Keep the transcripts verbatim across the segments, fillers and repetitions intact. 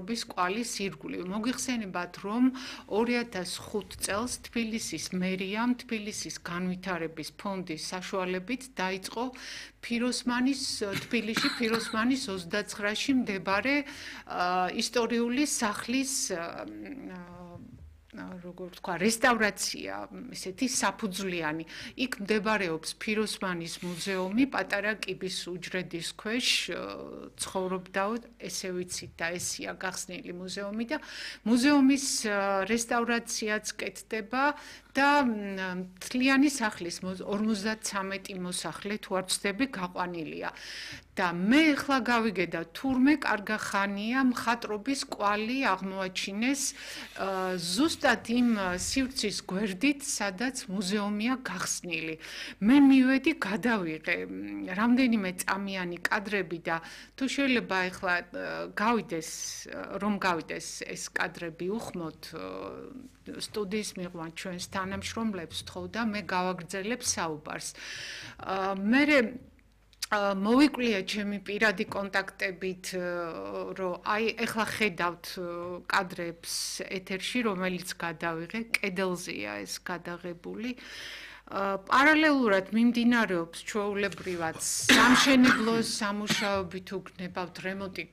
მხატვრობის კვალის ირგვლივ. მოგიხსენებათ, რომ ორი ათას ხუთ წელს თბილისის მერიამ თბილისის განვითარების ფონდის საშუალებით დაიწყო ფიროსმანის თბილისში ფიროსმანის ოცდაცხრაში მდებარე ისტორიული სახლის როგორ ვთქვა, რესტავრაცია, ესეთი საფუძვლიანი. იქ მდებარეობს ფიროსმანის მუზეუმი, პატარა კიბის უჯრედის ქვეშ ცხოვრობდა, ესე ვიცით და ესია გახსნილი მუზეუმი და მუზეუმის რესტავრაციაც კეთდება და მთლიანი სახლის ორმოცდათვრამეტი მოსახლე თუ არ ვცდები გაყვანილია. და მე ახლა გავიგე და თურმე კარგა ხანია მხატვრობის კვალი აღმოაჩინეს ზუსტად იმ სივრცის გვერდით, სადაც მუზეუმია გახსნილი. მე მივედი, გადავიღე რამდენიმე წამიანი კადრები და თუ შეიძლება ახლა გავიდეს, რომ გავიდეს ეს კადრები უხმოთ სტუდიის მიღმა ჩვენს თანამშრომლებს თხოვ და მე გავაგრძელებ საუბარს. მე მოვიკვლია ჩემი პირადი კონტაქტებით, რომ აი ეხლა ხედავთ კადრებს ეთერში, რომელიც გადავიღე, კედელზეა ეს გადაღებული. პარალელურად მიმდინარეობს ჩვეულებრივად სამშენებლო სამუშაოები თუ გნებავთ რემონტი,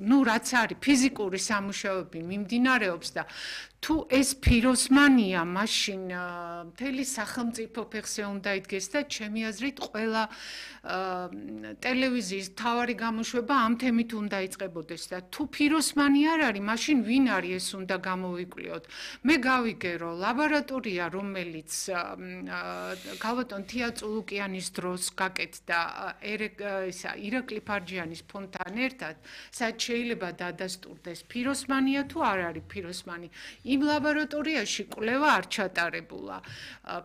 ну რაც არის ფიზიკური სამუშაოები მიმდინარეობს და თუ ეს ფიროსმანია, მაშინ მთელი სახელმწიფო ფეხზე უნდა იდგეს და ჩემი აზრით ყველა ტელევიზიის მთავარი გამოშვება ამ თემით უნდა იწყებოდეს და თუ ფიროსმანი არ არის, მაშინ ვინ არის ეს უნდა გამოვიკვლიოთ. მე გავიგე, რომ ლაბორატორია, რომელიც ქალბატონ თია წულუკიანის დროს გაკეთდა ირაკლი ფარჯიანის ფონდთან ერთად, სადაც შეიძლება დადასტურდეს ფიროსმანია თუ არ არის ფიროსმანი. იმ ლაბორატორიაში კვლევა არ ჩატარებულა.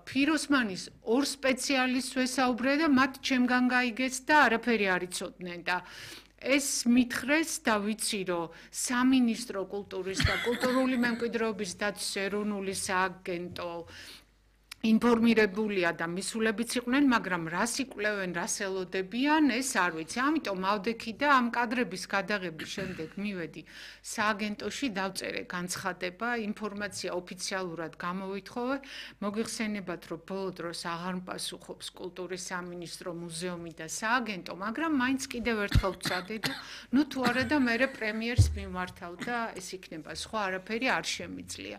ფიროსმანის ორ სპეციალისტს ვესაუბრე და მათ ჩემგან გაიგეს და არაფერი არ იცოდნენ და ეს მითხრეს და ვიცი, რომ სამინისტრო კულტურის და კულტურული მემკვიდრეობის დაცვის ეროვნული სააგენტო ინფორმირებულია და მისულებიც იყვნენ, მაგრამ რას იკვლევენ, რას ელოდებიან, ეს არ ვიცი. ამიტომ ავდექი და ამ კადრების გადაღების შემდეგ მივედი სააგენტოში, დავწერე განცხადება, ინფორმაცია ოფიციალურად გამოვითხოვე. მოგიხსენებათ, რომ ბოლო დროს აღარ მპასუხობს კულტურის სამინისტრო, მუზეუმი და სააგენტო, მაგრამ მაინც კიდევ ერთხელ ვცადე და ნუ თუ არა და მერე პრემიერს მიმართავ და ეს იქნება, სხვა არაფერი არ შემიძლია.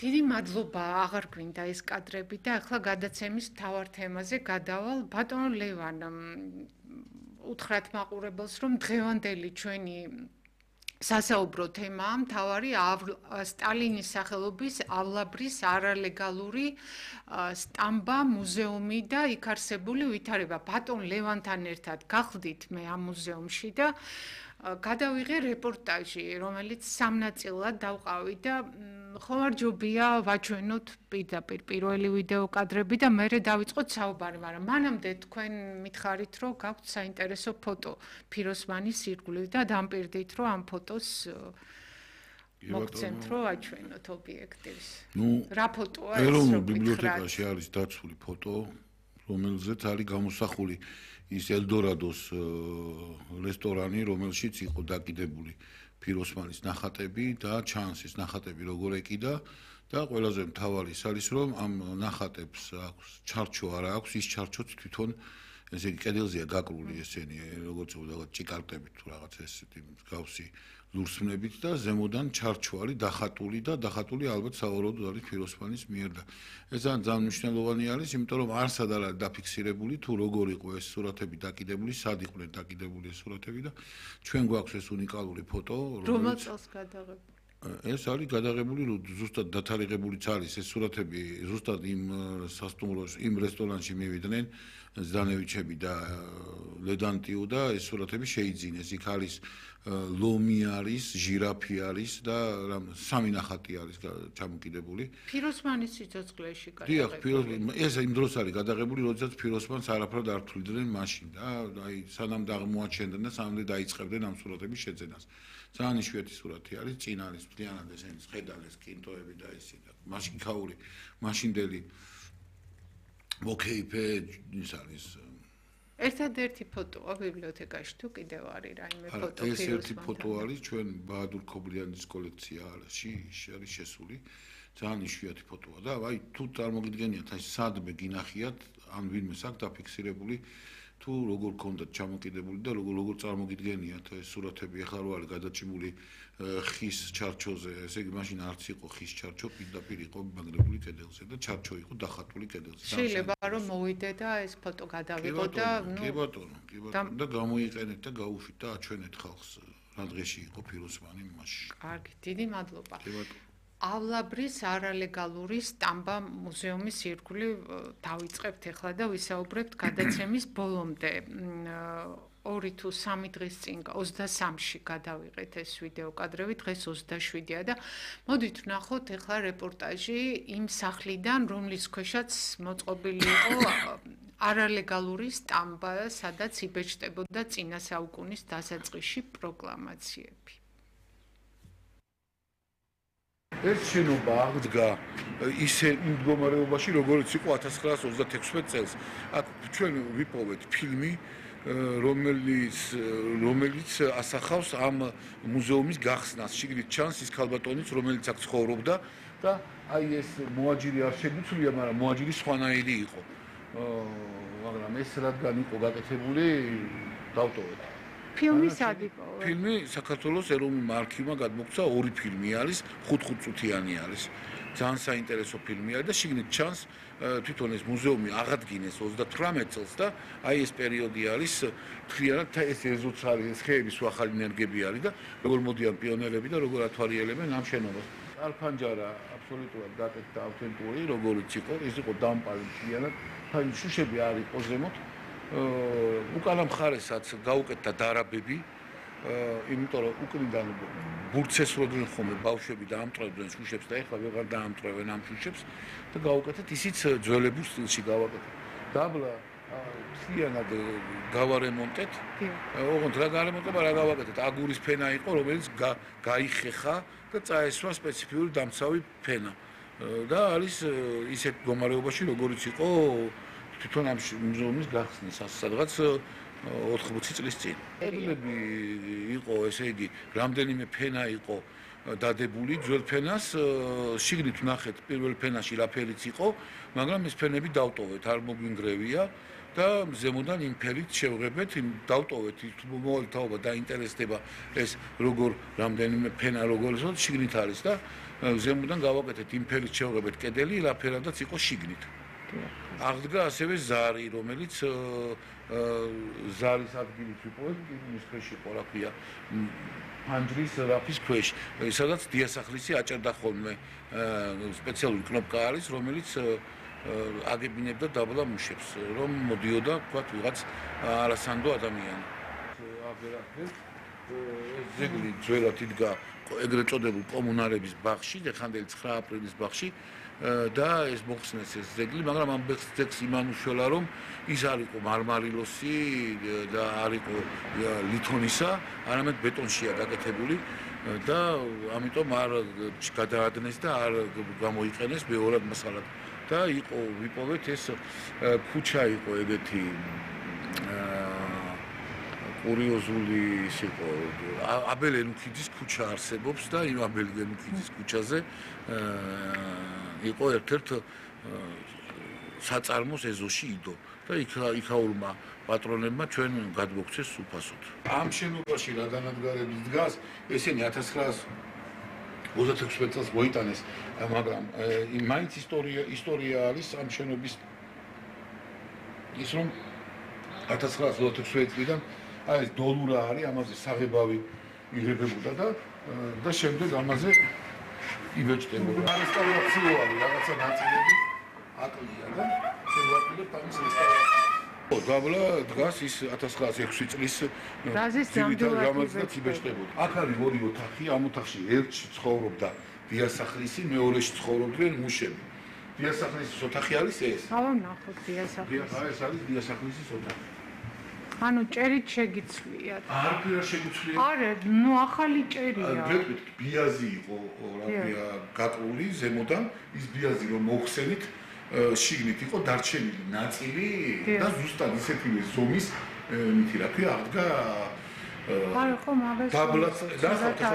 დიდი მადლობა, აღარ გვინდა ეს კადრები და ახლა გადაცემის მთავარ თემაზე გადავალ. ბატონო ლევან, უთხრათ მაყურებელს, რომ დღევანდელი ჩვენი სასაუბრო თემაა მთავარი სტალინის სახელობის ავლაბრის არალეგალური სტამბა, მუზეუმი და იქ არსებული ვითარება. ბატონ ლევანთან ერთად გახლდით მე ამ მუზეუმში და გადავიღე რეპორტაჟი, რომელიც სამნაწილად დავყავი და ხომარჯობია ვაჩვენოთ პირდაპირ პირველი ვიდეო კადრები და მერე დავიწყოთ საუბარი, მაგრამ მანამდე თქვენ მითხარით, რომ გაქვთ საინტერესო ფოტო ფიროსმანის ირგვლივ და დამპირდით, რომ ამ ფოტოს მოგცემთ, რომ აჩვენოთ ობიექტივს. რა ფოტოა ეს? ეროვნულ ბიბლიოთეკაში არის დაცული ფოტო, რომელზეც არის გამოსახული ის ელდორადოს რესტორანი, რომელშიც იყო დაკიდებული ფიროსმანის ნახატები და ჩანს ეს ნახატები როგორ ეკიდა და ყველაზე მთავარი ის არის, რომ ამ ნახატებს აქვს ჩარჩო არა აქვს, ის ჩარჩოც თვითონ ესე იგი კედელზეა გაკრული ესენი, როგორც რაღაც ჭიკარტებით თუ რაღაც ესეთი მსგავსი ლურსმნებით და ზემოდან ჩარჩო არის დახატული და დახატული ალბათ სავარაუდოდ არის ფიროსმანის მიერ და ეს ძალიან მნიშვნელოვანი არის, იმიტომ რომ არსად არ არის დაფიქსირებული თუ როგორ იყო ეს სურათები დაკიდებული, სად იყვნენ დაკიდებული ეს სურათები და ჩვენ გვაქვს ეს უნიკალური ფოტო, რომელ წელს გადაღებული? ეს არის გადაღებული, ზუსტად დათარიღებულიც არის ეს სურათები, ზუსტად იმ სასტუმროში, იმ რესტორანში მივიდნენ ზდანევიჩები და ლედანტიუ და ეს სურათები შეიძინეს. იქ არის ლომი არის, ჟირაფი არის და სამი ნახატი არის ჩამოკიდებული. ფიროსმანის სიცოცხლეში გადაღებული. დიახ, ფიროსმანი, ეს იმ დროს არის გადაღებული, როდესაც ფიროსმანს არაფრად არ თვლიდნენ მაშინ და აი სანამ აღმოაჩენდნენ და სანამ დაიწყებდნენ ამ სურათების შეძენას. ძალიან იშვიათი სურათი არის, წინ არის მთლიანად ესენის ხედალეს, კინტოები და ისე და მაშინ ქაური, მაშინდელი მოკეიფე ის არის ერთადერთი ფოტოა ბიბლიოთეკაში თუ კიდევ არის რაიმე ფოტო ეს ერთი ფოტო არის ჩვენ ბაადურ ქობლიანის კოლექციაში არის შესული ძალიან იშვიათი ფოტოა და აი თუ წარმოგიდგენიათ აი სადმე გინახიათ ან ვინმე აქვს დაფიქსირებული თუ როგორ კონდათ ჩამოკიდებული და როგორ როგორ წარმოგიდგენიათ ეს სურათები ახლა რო არის გადაჭიმული ხის ჩარჩოზე ესე იგი მაშინ არც იყო ხის ჩარჩო პირდაპირ იყო მიგრებული კედელზე და ჩარჩო იყო დახატული კედელზე შეიძლება რომ მოვიდე და ეს ფოტო გადავიღო და ნუ კი ბატონო კი ბატონო და გამოიყენეთ და გაუშვით და აჩვენეთ ხალხს რა დღეში იყო ფიროსმანი მასში კარგი დიდი მადლობა კი ბატონოავლაბრის არალეგალური სტამბა მუზეუმის ირგვლივ დავიწყებთ ახლა და ვისაუბრებთ გადაცემის ბოლომდე. ორი თუ სამი დღის წინ ოცდასამში გადავიღეთ ეს ვიდეო კადრები, დღეს ოცდაშვიდია და მოდით ვნახოთ ახლა რეპორტაჟი იმ სახლიდან, რომლის ქვეშაც მოწყობილი იყო არალეგალური სტამბა, სადაც იბეჭდებოდა წინა საუკუნის დასაწყისში პროკლამაციები. ეს შენობა აღდგა ისე მდგომარეობაში, როგორც იყო ათას ცხრაას ოცდათექვსმეტ წელს. აქ ჩვენ ვიპოვეთ ფილმი, რომელიც რომელიც ასახავს ამ მუზეუმის გახსნას. შიგნით ჩანს ის ქალბატონიც, რომელიც აქ ცხოვრობდა და აი ეს მოაჯირი არ შეგვიცვლია, მაგრამ მოაჯირი სხვანაირი იყო. მაგრამ ეს რადგან იყო გაკეთებული, დავტოვეთ. ფილმი სად იყო? ფილმი საქართველოს ეროვნულმა არქივმა გადმოგცა ორი ფილმი არის, ხუთ-ხუთ წუთიანი არის. ძალიან საინტერესო ფილმია და შიგნით ჩანს თვითონ ეს მუზეუმი აღადგინეს ოცდათვრამეტ წელს და აი ეს პერიოდი არის მთლიანად ეს ეზოც არის, ეს ხეების ახალი ნერგები არის და როგორ მოდიან პიონერები და როგორ ათვალიერებენ ამ შენობას. არფანჯარა აბსოლუტურად დაკეთდა ავთენტური, როგორიც იყო, ეს იყო დამპალი მთლიანად, აი შუშები არ იყო ზემოთ. უკანა მხარესაც გაუკეთდა დარაბები, იმიტომ რომ უკნიდან ბურცესროდნენ ხოლმე ბავშვები და ამტვრევდნენ შუშებს და ეხლა ვეღარ დაამტვრევენ ამ შუშებს და გაუკეთეთ ისიც ძველებურ სტილში გავაკეთეთ. დაბლა მთლიანად გავარემონტეთ. ოღონდ რა გარემონტება რა გავაკეთეთ? აგურის ფენა იყო, რომელიც გაიხეხა და წაესვა სპეციფიური დამცავი ფენა. და არის ისეთ მდგომარეობაში, როგორიც იყო თვითონ ამ მუზეუმის გახსნის სადღაც ოთხმოცი წლის წინ. კედლები იყო, ესე იგი, რამდენიმე ფენა იყო დადებული ძველ ფენას, შიგნით ვნახეთ პირველ ფენაში რა ფერიც იყო, მაგრამ ეს ფენები დავტოვეთ, არ მოგვინგრევია და ზემოდან იმ ფერით შევღებეთ, დავტოვეთ, მოვალთაობა დაინტერესდება ეს როგორ რამდენიმე ფენა როგორ ისო შიგნით არის და ზემოდან გავაკეთეთ იმ ფერით შევღებეთ კედელი, რა ფერადაც იყო შიგნით. აღდგა ასევე ზარი, რომელიც ზარის ადგილით ვიპოვეთ, ის ქვეში იყო, რა ქვია, ფანჯრის რაფის ქვეშ, სადაც დიასახლისი აჭერდა ხოლმე სპეციალური კნოპკა არის, რომელიც აგებინებდა დაბლა მუშებს, რომ მოდიოდა, თქვათ, ვიღაც არასანდო ადამიანი. აღერახეთ, ეს ძეგლი ძველად იდგა ეგრეთ წოდებულ კომუნარების ბაღში, ეხანდელი ცხრა აპრილის ბაღში. და ეს მოხსნეს ეს ძეგლი, მაგრამ ამ ძეგლს იმან უშველა, რომ ის არ იყო მარმარილოსი და არ იყო ლითონისა, არამედ ბეტონშია გაკეთებული და ამიტომ არ გადაადნეს და არ გამოიყენეს მეორად მასალად. და იყო ვიპოვეთ ეს ქუჩა იყო ეგეთი კურიოზული ის იყო აბელ ენუქიძის ქუჩა არსებობს და იმ აბელ ენუქიძის ქუჩაზე იყო ერთ-ერთ საწარმოს ეზოში იდო და იქ იქაურმა პატრონებმა ჩვენ გადმოგცეს სუფასოდ. ამ შენობაში რა განადგარების დგას, ესენი ათას ცხრაას ოცდათექვსმეტ წელს მოიტანეს, მაგრამ მაინც ისტორია ისტორია არის ამ შენობის ის რომ ათას ცხრაას ოცდათექვსმეტ წლიდან აი ეს დოლურა არის, ამაზე საღებავი იღებებოდა და და შემდეგ ამაზე იბეჭდებოდა. რესტავრაციო არის, რაღაცა ნაწილები აკლია და შევაპირებთ ამის რესტავრაციას. დაბლა დგას ის ათას ცხრაას ექვსი წლის რამაზნაც იბეჭდებოდა. აქ არის ორი ოთახი, ამ ოთახში ერთში ცხოვრობდა დიასახლისი, მეორეში ცხოვრობდნენ მუშები. დიასახლისის ოთახი არის ეს? ავა ნახოთ დიასახლისი. ეს არის დიასახლისის ოთახი. ანუ ჭერით შეგიცვლიათ. არ ფერა შეგიცვლიათ. არა, ნუ ახალი ჭერია. ბიაზი იყო, რა ქვია, გაკლული ზემოდან, ის ბიაზი რომ მოხსენით, შიგნით იყო დარჩენილი ნაწილი და ზუსტად ისეთივე ზომის მითი რა ქვია აღდგა არა ხო მაგას დაბლაც და ხოთა